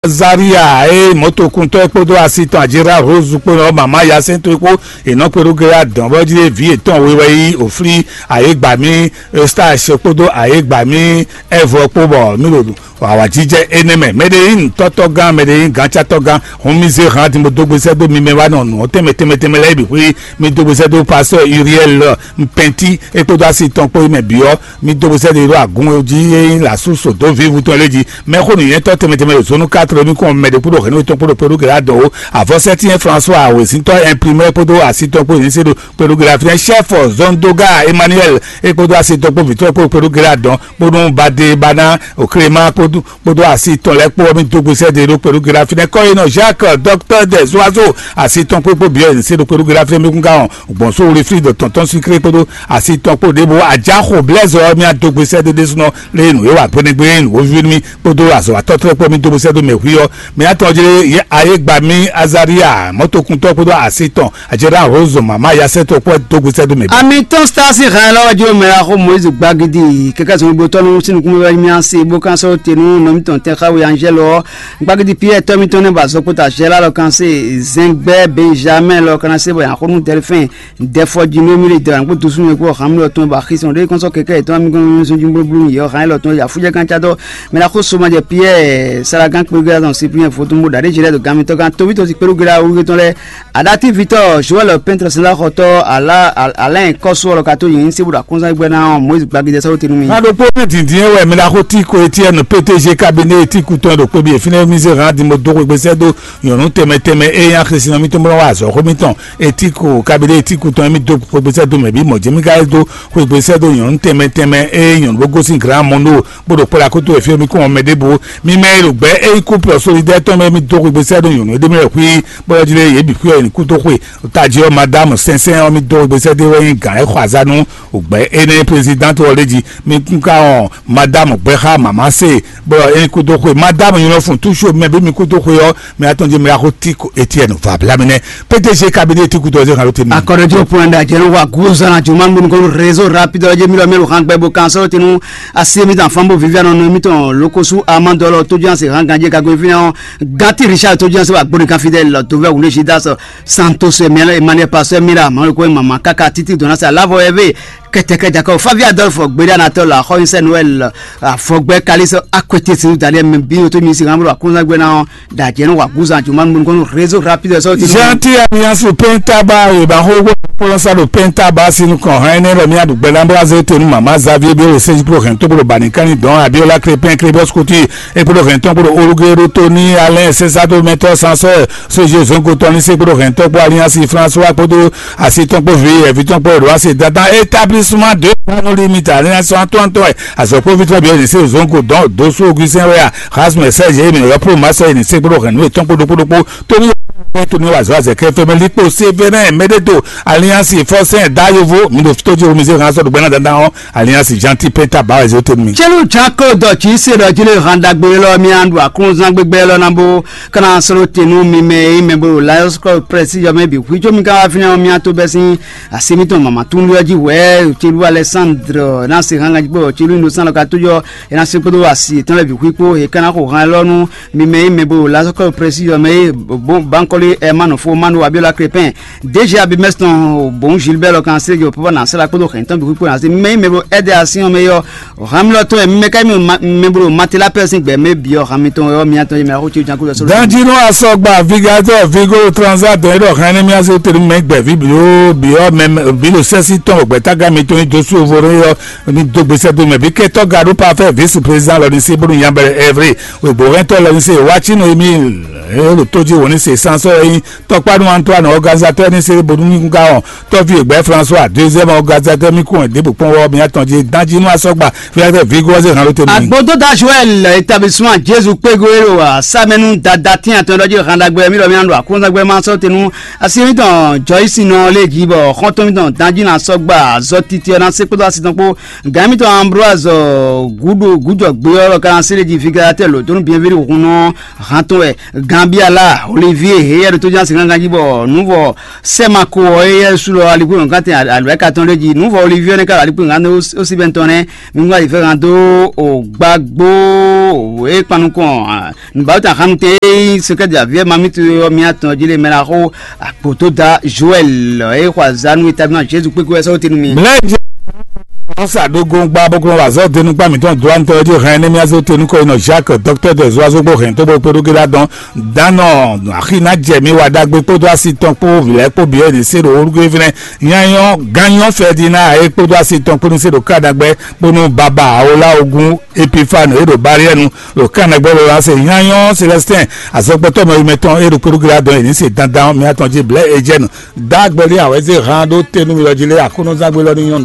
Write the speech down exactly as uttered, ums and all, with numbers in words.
Azaria e mɔ̌tokuntɔ́ e kpódó asi tɔn Ajira Rose kpó nɔ mama yasɛntɔ́ e kpó, è nɔ kpeɖó gé adɔn bɔ jí vǐ yětɔn we wɛ yí òflí ayégbamí Eustache kpódó ayégbamí Ɛvɔ kpó bɔ mí ɖo awǎjijɛ énɛ́ mɛ. Mɛɖeyin tɔ́tɔ́gán, mɛɖeyin gǎncátɔ́gán, hun mì zé hǎn din bó dó gbe sɛ́ dó mi mɛ wá nɔ nǔ ɔ́ tɛnmɛ tɛnmɛ tɛnmɛ lɛ́ɛ bǐ xwí. Mi dó gbe sɛ́ dó pastɔ́ Uriel Mpɛntí é kpódó asi tɔn kpó yi mɛ bǐ ɔ́, mi dó gbe sɛ́ dó yi ɖó agun jí é nyí lǎsú sǒdó vívu tɔn lɛ́ɛ jí. Mɛxó nǔnywɛ́tɔ́ tɛnmɛ tɛnmɛ ɖo zónú quatre mí kɔn mɛ ɖé kúɖo hɛ̌nnu tɔn kpódó kpódó gɛ̌ adɔ̌ ó. Avɔsɛ́tín François awěsíntɔ́ imprimé kpódó asi tɔn kpó nyí sé ɖo kpódó gɛ̌ afínɛ́ chef Zondoga Emmanuel é kpódó asi tɔn kpó vǐtɔ́ kpó kpódó gɛ̌ adɔ̌ kpódó Bade Bana Oklema kpódó kpódó asi tɔn lɛ́ɛ kpó ɔ́, mì dó gbe sɛ́ ɖe ɖó kpɛɖú gɛ́ ɖo fínɛ́. Kɔ́yinɔ Jacques, docteur des oiseaux, asi tɔn kpó kpó bǐ ɔ́, yě ní sé ɖó kpɛɖú gɛ́ ɖo fínɛ́. Mì kún ka wɔn gbɔn só Wilfrid tɔntɔn Sucré kpódó asi tɔn kpó ɖěbǔ. Ajaxo Blaise ɔ́, mì adó gbe sɛ́ ɖe ɖésúnɔ lé nǔ e wa gbeɖégbé, nǔ wóvíví nú mì kpódó azɔ̌watɔ́ kpó mì dó gbe sɛ́ ɖó mɛ hwí ɔ́. Mì atɔn jlé ayé gba mì Azaria mɔ̌tokuntɔ́ kpódó asi tɔn Ajɛɖá Rose mama yasɛtɔ kpɔ dó gbe sɛ́ dó mɛ bǐ. Ami tɔn Stasi hɛn lɔ wájú mɛ la xó Moyiz Gbagidi kɛkɛ zɔn gbotɔ nu sínú kúmɛ wɛ mi asi bó kan sɔ́ te nú nɔmítɔn tɛ xawe Anzɛlɔ ɔ. Gbagidi Piyɛ tɔ́ mítɔn nɛ ba zɔ kpota Zɛla lɔ kan se Zɛngbɛ Benjamin lɔ kan se bɔ yan xó nú Dɛlfɛn Dɛfɔ Djinomi le dra kpó dusu mɛ kpó hàn mi lɔ tɔn ba xisɔn ɖe kɔn sɔ kɛkɛ tɔn mi kɔn zɔn dzi blublu mi yɔ hàn lɔ tɔn ya fújɛ kan ca dɔ mɛ la xó soma jɛ Piyɛ Salagan kpégbé azɔn Cyprien Fotumbo ɖaɖé Zɛlɛ ɖo gan mitɔn kan tóbítɔ si kpéɖó gbéra wúrúgbé tɔn lɛ Adati vitɔ Joel pɛntre sɛnzá xɔtɔ ala Alain kɔsu ɔlɔ ka to yin se bo ɖo akɔnzan gbɛ na Moïse gbagidɛ sɔrɔ tenu mi. Na ɖokpó ní dǐndín wɛ mi la xó tí ko etí ɛnu P T G cabinet etí kutɔn ɖo kpébi efinɛ mi se hàn dimo dó xwegbe sɛ dó nyɔnu tɛmɛ tɛmɛ e nya xlesi nɔ mi tɔn bɔ wa azɔ xó mi tɔn etí ko cabinet etí kutɔn mi dó xwegbe sɛ dó mɛ bí mɔ jɛmi ka dó xwegbe sɛ dó nyɔnu tɛmɛ tɛmɛ e nyɔnu bó gosín grand mondo bó ɖo kpɔ́ɖa kótó wɛ fí mi kún mɛ ɖěbǔ. Mi mɛ e ɖo gbɛ̌ é nyí couple solidaire tɔn mɛ mi dó xwegbe sɛ dó nyɔnu e ɖé mi lɛ xwí bó lɔ jí lé yě bǐ xwí ɔ́ yi ní kú dó xwe. Tají ɔ́, madame Sɛnsɛn ɔ́, mi dó xwegbe sɛ́ dé wɛ nyí gǎn e xɔ azá nú ògbɛ́ énɛ́ présidente ɔ́ lé jí. Mi kún ka ɔn madame gbɛ́ xá mama se bɔ é kú dó xwe. Madame nyɔ́ fún túṣu mɛ bí mi kú dó xwe ɔ́, mi atɔn jí mi axó tí Etienne Vablami nɛ. P D G cabinet tí kú dó xwe xalo tèmi. Akɔrɔjɔ pɔnda jɛnu wa guzan juma ngbonu kɔnɔ réseau rapide ɔjɛ mi lɔ mɛlu hàn gbɛ bo kan sɔrɔ tenu asi mi tan fanbo vivian nɔ mi tɔn lokosu amandɔlɔ tójú ase hàn ganje kago fi na ɔ. Gati Richard tójú ase wa gbóni kan fidèle lɔ tó vɛ wunde si da sɔ Santos Emmanuel Pastor Mira Maroko Mama kaka títí dɔn ase alavɔ ɛvɛ kɛtɛkɛ jakɔ Favi Adolphe gbéɖé anatɔl axɔnyisɛ Noël afɔgbɛ kalisɔ akwete si Daniel Bino tó mi si hàn bolo akunzan gbé na ɔ dajɛ ní wàgúzan jùmɔ nínú kɔnú réseau rapide sɔ ti. Gentil alliance pɛntaba ìbáxó gbọ́dọ̀ kpɔ́lọ́sá ɖo pɛntaba sínú kàn hàn ɛnɛ lɔ mí aɖùgbɛ lámbláze tenu mama Xavier bí ó lè sèche kúrò hɛn tó gbọ́dọ̀ bani kánní dɔn Abiola Crépin Crébos Couture é gbọ́dọ̀ hɛn tɔn gbọ́dọ̀ olugero tó ní alẹ́ sésádó mẹ́tọ́ sansọ́ sójú zongo tɔn ní sèkúrò hɛn tɔn kpó alliance François kpódó asi tɔn kpó vi ɛvi tɔn kpó ɛɖó asi dandan établissement de panoli mita alliance atɔntɔ ɛ azɔkpó vi tɔn bi ɛni sè zongo dɔn dosu Augustin wɛa Rasmus Serge emi yɔ pro masɔ ɛni sèkúrò hɛn nú etɔn kpó ɖokpó ɖokpó Tony Tony wazɔ azɛ kɛ fɛmɛ likpo Severin Medeto alliance Forcin Dayovo mi ɖo tó jí omi se hàn sɔdɔ gbɛna dandan ɔ alliance Gentil Penta ba ɛzɛ tɛnu mi. Tselu Janko dɔ tsi se dɔ dzi le handa gbe lɔ mi andu aklunzan gbegbe lɔ na bo kana sɔrɔ tenu mi mɛ yi mɛ bo Lions Club press yɔ mɛ bi hui tso mi ka wa fi na mi ato bɛ sin asi mi tɔn mama tun yɔ dzi wɛ tselu Alexandre na se hàn gãdzi kpɔ tselu ndo san lɔ ka to yɔ ena se kpodo asi etɔn lɛ bi hui kpo e kana xo hàn lɔ nu mi mɛ yi mɛ bo Lions Club press yɔ mɛ yi bo bankɔli ɛ manu fo manu Abiola Crépin D G Abimɛsi tɔn Bon Gilbert lɔ kan se jɔ papa na sela kpodo hɛn tɔn bi kpó na se mɛ mɛ bo ɛdɛ asi ɔn mɛ yɔ hami lɔ tɔn mɛ ka mi mɛ bo matela pɛ sin gbɛ mɛ bi ɔ hami tɔn yɔ mi atɔn mɛ ko tsi jan ko sɔrɔ. Danjinu asɔgba vigatɔ vigo transa dɔn yɛ dɔ hɛn ne mi ase teri mɛ gbɛ vi bi o bi ɔ mɛ bi lo sɛsi tɔn gbɛ taga mi tɔn do su vore yɔ ni do gbèsè do mɛ bi kɛtɔ gado parfait vice président lɔ ni se bonu yabɛrɛ ɛvre wegbo hɛntɔ lɔ ni se watsi no emi ɛ lo tó jí wò ni se sansɔ yɛ tɔkpanu Antoine organisateur ní se bonu ní ká ɔ tɔvi egbɛ François deuxième organisateur mi kún ɛ débò kpɔn wɔ mi atɔn jí danji nú asɔgba fífẹ́ vigo ɔsẹ hàn ló tẹ mi. Agbododa Joel établissement Jésus kpégo ero wa samẹnu dada tí atɔn dɔjí hàn dàgbé mi lọ mi àndó àkúnzàgbé ma sọ tẹnu asi mi tàn Joyce nọ lé jí bọ xɔntɔn mi tàn danji nà sọgbà zọ titi ọ̀nà sépótó asi tàn kpó gàmí tàn Ambroise gudo gujɔ gbé ọlọ kan sélé jí fígá tẹ lò tónú bienvenue hun nọ hàn tún ẹ Gambiala Olivier Éyɛ́ ɖo tójánsi gángan jí bɔ nǔvɔ sɛ́mako ɔ́, éyɛ́ sú lɔ alikpó nǔkantɛn alwɛ̌ ka tɔn ɖé jí. Nǔvɔ Olivier nɛ́ ka ɖo alikpó gán dó ó sí bɛn tɔn nɛ́. Mi wá yi fɛ́ gán dó o gbágbó o é kpan nukɔn nǔbawúta xánutɛn e nyí sɛkɛ́ de aviɛ mamitó ɔ́ mía tɔn jí lé mɛ ná xó akpotó da Joël e xɔ azá nú établimá Jésus kpékpé wɛ sɔ́ tenu mi. Mlɛ́ jɛ ɔ́ sa ɖó gɔngba bó kplɔ́n wazɔ́ denukpa mǐtɔn dó antɔ jí hɛn énɛ́ mía zó tenukɔ yi nɔ Jacques, docteur des oiseaux bó hɛn tó bó kpé ɖó gé ɖá dɔn. Dánɔ axi ná jɛ mi wa ɖagbe kpódó asi tɔn kpó vǐ lɛ́ɛ kpó bǐ e ɖě se ɖo orúkú fínɛ́. Nyanyɔ gányɔ Ferdinand e kpódó asi tɔn kpó ní se ɖo Kanagbɛ kpó nú baba Awola ogun Epifane e ɖo Bariɛnu ɖo Kanagbɛ lɔ la se. Nyanyɔ Célestin azɔgbɔtɔ́ mɛ yi mɛtɔn e ɖo kpódó gé ɖá dɔn e ní se dandan mía tɔn jí blɛ́ Ejɛnu. Dá agbɛlí awɛzé hán ɖó te nú mi lɔ jí lé Aklúnɔzán gbé lɔ ní nyɔ́nu